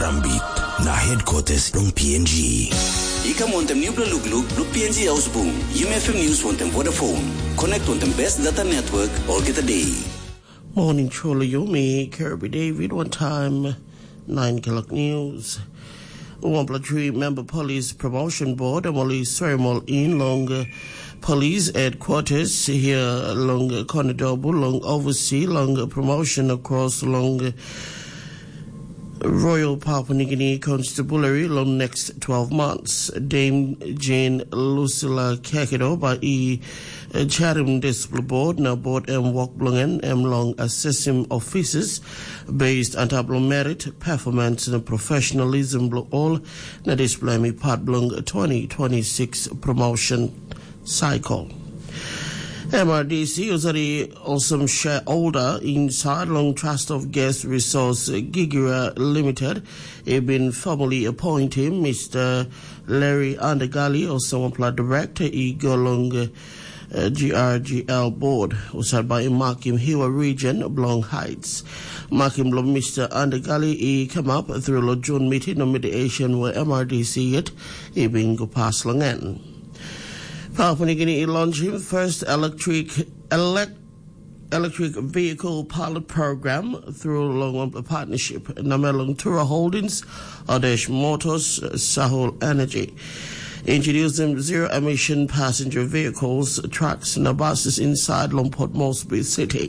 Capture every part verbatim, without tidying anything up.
Rambit, na headquarters long P N G. I kam wantaim nupela lukluk bilong P N G Ausbung, Yumi F M News wantaim Vodafone. Connect wantaim best data network olgeta day. Morning, Cholo Yumi, Kirby David, one time, nine o'clock news. Wanpela three member police promotion board, em ol i serem ol in long uh, police headquarters here long uh, Konadobul, long oversee, long uh, promotion across long uh, Royal Papua New Guinea Constabulary long next twelve months. Dame Jane Lucilla Kekedo ba i uh, charim dispela board, na board em work bilong en em long assessing officers based on top long merit, performance na professionalism bilong all, na dispela em i part bilong twenty twenty-six promotion cycle. M R D C, who's already awesome shareholder inside long Trust of Guest Resource Gigira Limited, he been formally appoint him, Mister Larry Undergali, or someone director, he go along uh, G R G L board, who's by Makim Hiwa region, Blong Heights. Makim lo Mister Undergali, he come up through lo June meeting no mediation where M R D C yet, he been go pass long end. Papua New Guinea launched him first electric elect, electric vehicle pilot program through long a partnership. Namelong Tura Holdings, Adesh Motors, Sahul Energy. Introduce them zero emission passenger vehicles, trucks, and buses inside Lompot Moresby City.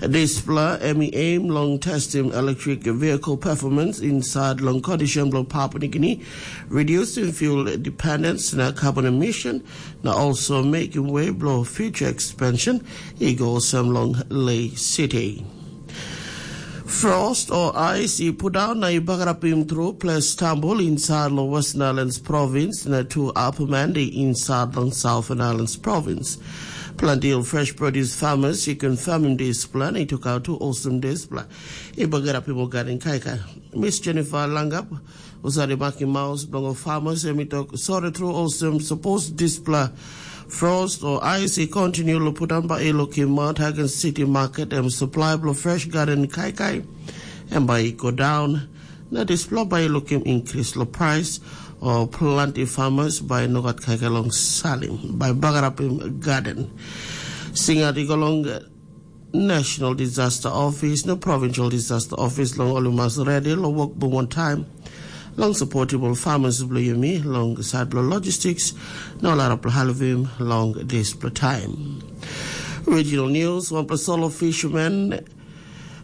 Dispela em i aim long testim electric vehicle performance inside long condition bilong Papua New Guinea, reducing fuel dependence na carbon emission, na also making way bilong future expansion i go olsem long Lae City. Frost o ais i pundaun na i bagarapim tru ples Stambul inside long Western Islands Province na tu Upper Mandi inside long Southern Islands Province. Planti ol fresh produce farmers i confirmim dispela na i tokaut tu olsem dispela i bagarapim ol gaden kaikai. Miss Jennifer Langap, husat i makim maus bilong ol farmers, em i tok sori tru olsem sapos dispela frost o ais i kontinu long pundaun, bai i lukim Mount Hagen City Market em supply bilong fresh garden kaikai em bai i go daun, na dispela bai i lukim increase long price, o planti farmers bai no gat kaikai long salim, bai bagarapim garden. Singat i go long National Disaster Office na Provincial Disaster Office long ol i mas redi long wok bung wantaim long supportable farmers bilong yumi long side bilong logistics na ol arapela helpim long dispela taim. Regional news, wanpela solo fisherman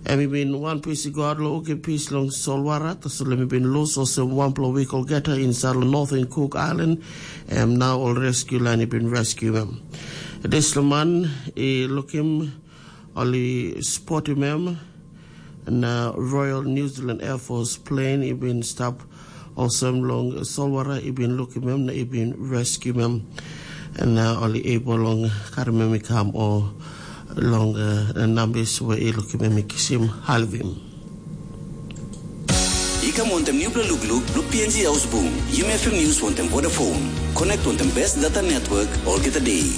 em i bin wan pis i go out long wokim pis long solwara, tasol em i bin lus olsem wanpela wik olgeta inside long Northern Cook Island, em nau ol rescue line i bin rescue em. Dispela man i lukim ol i spotim em, na Royal New Zealand Air Force plane i bin stap olsem long solwara i bin lukim em na i bin rescuem em, na ol i able long karim em i kam o long uh, nambis we i lukim em i kisim halvim. I kam wantaim nupela lukluk bilong P N G Ausbung, Yumi F M News wantaim Vodafone. Connect wantaim best data network olgeta day.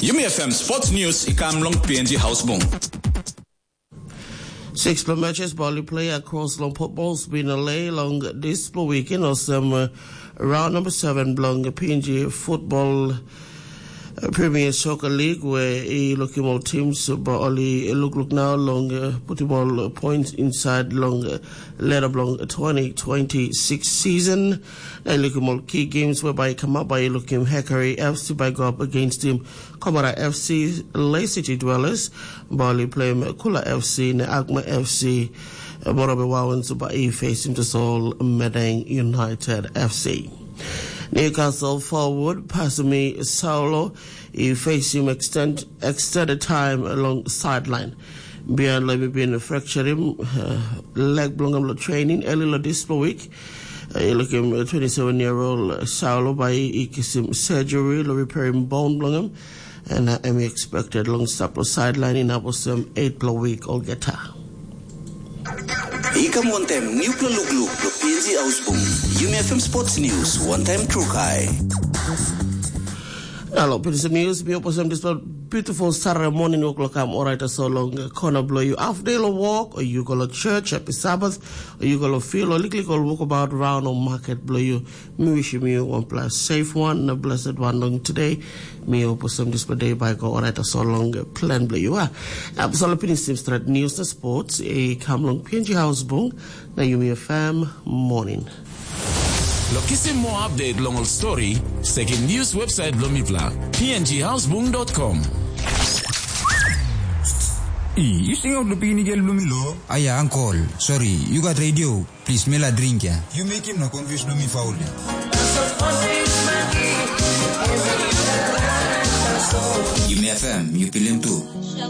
Yumi F M Sports News i kam long P N G Ausbung. Six matches ball play across long footballs bin a lay long this weekend or some uh, round number seven belong P N G football uh, Premier Soccer League where he looking all teams but only look look now long uh, put him all uh, points inside long uh, letter belong twenty twenty-six season. They look him all key games whereby he come up by look him Hickory F C by go up against him Komara F C, Lay City Dwellers, Bali Plem Kula F C, ne Akma F C, Morobe Wawens ba i facing to Seoul Medang United F C. Newcastle forward Pasumi Saulo i facing extend, extended time along sideline. Bian Lemi bin fracture him uh, leg belong him lo training early lo this week. Uh, look him uh, twenty-seven year old uh, Saulo by i kisim surgery lo repair him bone belong him. And uh, I'm expected long stop lo sideline in Abosem eight lo week or get her. I kam wantaim nupla lukluk lo P N G Ausbung. Yumi F M Sports News, wantaim trukai. Alo, P N G News, mi opposem dispela Beautiful Saturday morning, wok lokam orait aso long kona bilong yu. Half day lo walk, or you go to church, happy Sabbath, or you go to field, or liklik ol walkabout round or market bilong yu. Mi wishim yu wanpela safe one, na blessed one long today. Mi hope some this day by go orait aso long plan bilong yu. Ah, so lo finish sim strat news na sports, e kam long P N G House Bung, na Yumi F M morning. Lo kisim moa update long ol stori, sekim news website bilong mipela, P N G housebung dot com. I, yu singaut lo pikinigel bilong mi lo? Aia, ankol, sori, yu gat radio, plis mela dring ya. Yu mekim na confuse lo mi faul ya. Yumi F M, yu pilim tu.